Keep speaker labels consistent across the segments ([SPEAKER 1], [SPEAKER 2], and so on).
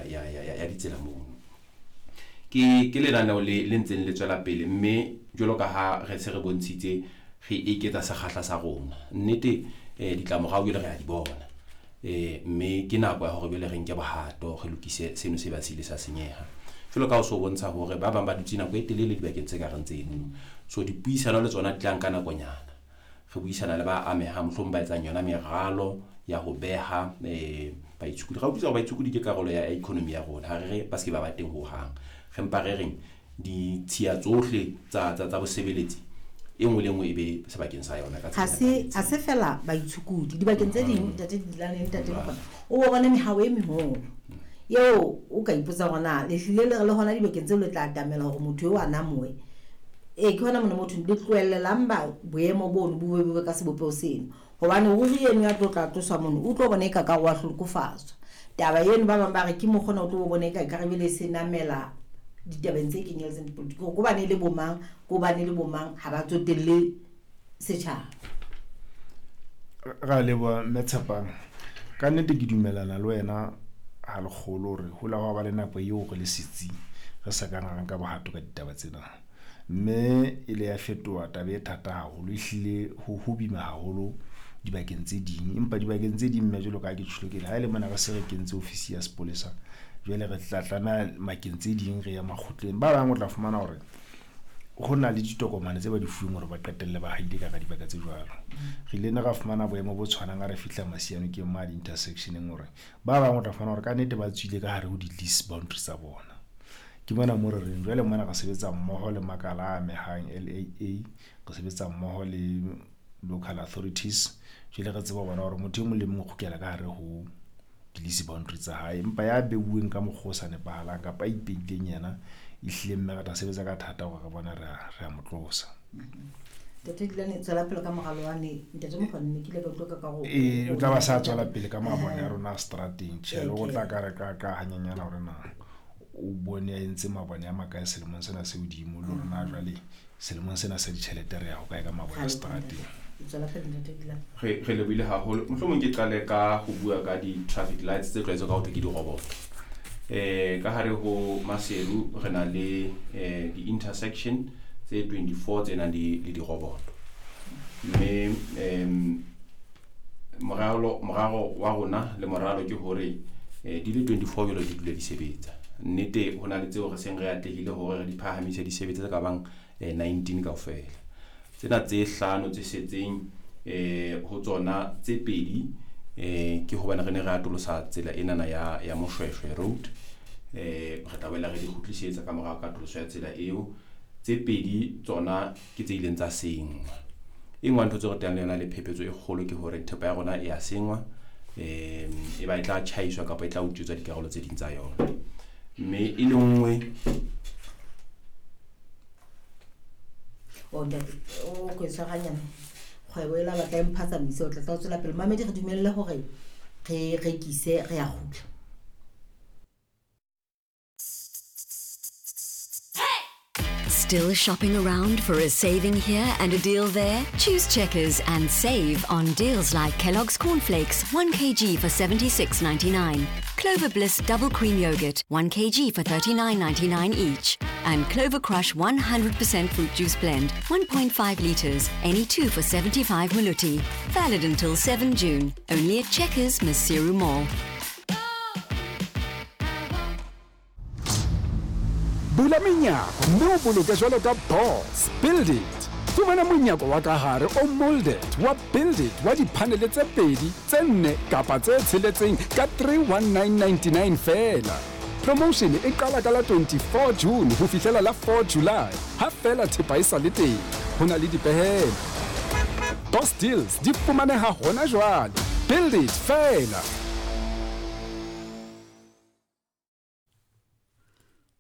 [SPEAKER 1] ya ditsela mono. Ke lenaneo le ntseng le tswela pele, mme jwalo ka ha re se re bontshitse re eketsa sekgahla sa rona. Nnete ditlamorao jwale re a di bona. Mme ke nako ya hore jwale re nke bohato, re lokise seno se ba se ile sa senyeha. Jwalo ka ho so bontsha hore ba bang ba dutse nako e telele dibakeng tse ka reng tseno. So dipuisano le tsona di tla nka nakonyana. Re buisana le ba amehang, mohlomong ba etsang yona meralo ya ho beha baitshokodi. Ra utlwisisa hore baitshokodi ke karolo ya economy ya rona, ha re re ba se ke ba ba teng hohang. Re mpa re reng ditshiya tsohle tsa bosebeletsi e nngwe le nngwe e be sebakeng sa yona ka
[SPEAKER 2] Ha se fela baitshokodi dibakeng tse ding, ntate Dilane, ntate Mokgona, o bo bone mehao e meholo eo o ka ipotsa hore na le hlile le re le hona dibakeng tseo le tla atamela hore motho eo a namoe. Ee, ke hona mona motho le tlohellelang ba boemo bono bo be ka sebopeho seno, hobane ruri eno ya tlo tla tloswa mono o tlo bona eka ka wa hlokofatswa. Taba eno ba bang ba re ke mokgona o tlo bona eka ekare bele se namela ditabeng tse kenyeletseng dipolotiki, hore ko bane le bomang, ko bane le bomang, ha ba tsotelle setjhaba.
[SPEAKER 3] Ra leboha mme Tshepang. Ka nnete ke dumelana le wena ha lekgolo hore ho la hwa ba le nako eo re le setsi re sa kang ra nka bohato ka ditaba tsena. Mme e le ya fetoha taba e thata haholo, ehlile ho boima haholo dibakeng tse ding. Empa dibakeng tse ding mme jwalo ka ha ke tjholo ke le, ha e le mona re se re kentse ofisi ya sepolesa, jwale re tla tlameha makeng tse ding re ya makgotleng. Ba bang o tla fumana hore ho na le ditokomane tse ba di fuweng hore ba qetelle ba haile ka hara dibaka tse jwalo. Re ile ra fumana boemo bo tshwanang ha re fihla Masianokeng ma di-intersectioneng hore ba bang o tla fumana hore ka nnete ba tswile ka hare ho di-lease boundary tsa bona. Ke mona mo re reng jwale mona re sebetsa mmoho le makala a amehang LAA, re sebetsa mmoho le local authorities, jwale re tseba ho bona hore motho e mong le mong o kgutlela ka hare ho di-lease boundary tsa hae. Empa ya beuweng ka mokgwa o sa nepahalang kapa a ipeileng yena, ehlile mme re tla sebetsa ka thata hore re bone re a mo tlosa.
[SPEAKER 2] Ntate Dilane, tswela pele ka moralo wa ne. Ntate Mokgona, ne ke ile ka utlwa ka ho
[SPEAKER 3] Ee, o tla ba sa tswela pele ka mabone a rona a strateng. Tjhe, le ho tla ka re ka hanyenyana hore na o bone a entse mabone a makae selemong sena se hodimo, le hore na jwale selemong sena sa ditjhelete re ya ho kae ka mabone a strateng.
[SPEAKER 2] Tswela pele ntate Dilane.
[SPEAKER 1] Re lebohile haholo. Mohlomong ke qale ka ho bua ka di-traffic lights tse tlwaetswe ka ho thwe ke diroboto. Ka hare ho Maseru re na le di-intersection tse 24 tse nang le diroboto. Mme moralo wa rona le moralo ke hore di le 24 jwalo di dule di sebetsa. Nnete ho na le tseo re seng re atlehile hore re di phahamise di sebetse tse ka bang 19 kaofela. Tsena tse hlano tse setseng ho tsona tse pedi ke hobane re ne re atolosa tsela enana ya Moshweshwe Road. Re tla boela re di kgutlisetsa ka morao katoloso ya tsela eo. Tse pedi tsona ke tse ileng tsa senngwa. E nngwe ya ntho tseo re teang le yona le phephetso e kgolo ke hore thepa ya rona e a senngwa, e ba e tla tjhaiswa kapa e tla utswetswa dikarolo tse ding tsa yona. Mme e le nngwe
[SPEAKER 2] O ntate, o ko tshwaranyane. Kgwebo e la batla e mphatsamise, o tla tla tswela pele. Mamedi, re dumelle hore re rekise, re a kgutla.
[SPEAKER 4] Still shopping around for a saving here and a deal there? Choose Checkers and save on deals like Kellogg's Cornflakes, 1 kg for $76.99, Clover Bliss Double Cream Yogurt, 1 kg for $39.99 each, and Clover Crush 100% Fruit Juice Blend, 1.5 litres, any two for 75 Maluti. Valid until 7 June, only at Checkers, Maseru Mall.
[SPEAKER 5] Bula menyako mme o boloke jwalo ka boss. Build it. Fumana monyako wa ka hare o molded wa Build it wa diphanele tse pedi, tse nne kapa tse tsheletseng ka 31999 feela. Promotion e qala ka la 24 June ho fihlela la 4 July, ha feela thepa e sa le teng. Ho na le dipehelo. Boss deals di fumaneha hona jwale. Build it feela.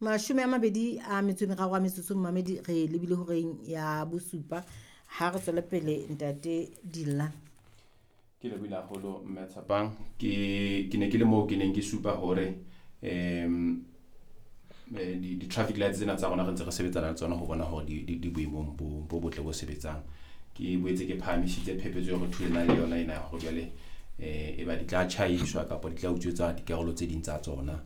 [SPEAKER 2] 23 metsotso mmamedi, re lebile horeng ya bosupa. Ha re tswele pele ntate Dilla.
[SPEAKER 1] Ke lebohile haholo mme Tshepang. Ke ne ke le moo ke neng ke supa hore di-traffic lights tsena tsa rona re ntse re sebetsana le tsona ho bona hore di boemong bo botle bo sebetsang. Ke boetse ke phahamisitse phephetso eo re thulanang le yona ena ya hore jwale e ba di tla tjhaiswa kapa di tla utswetswa dikarolo tse ding tsa tsona.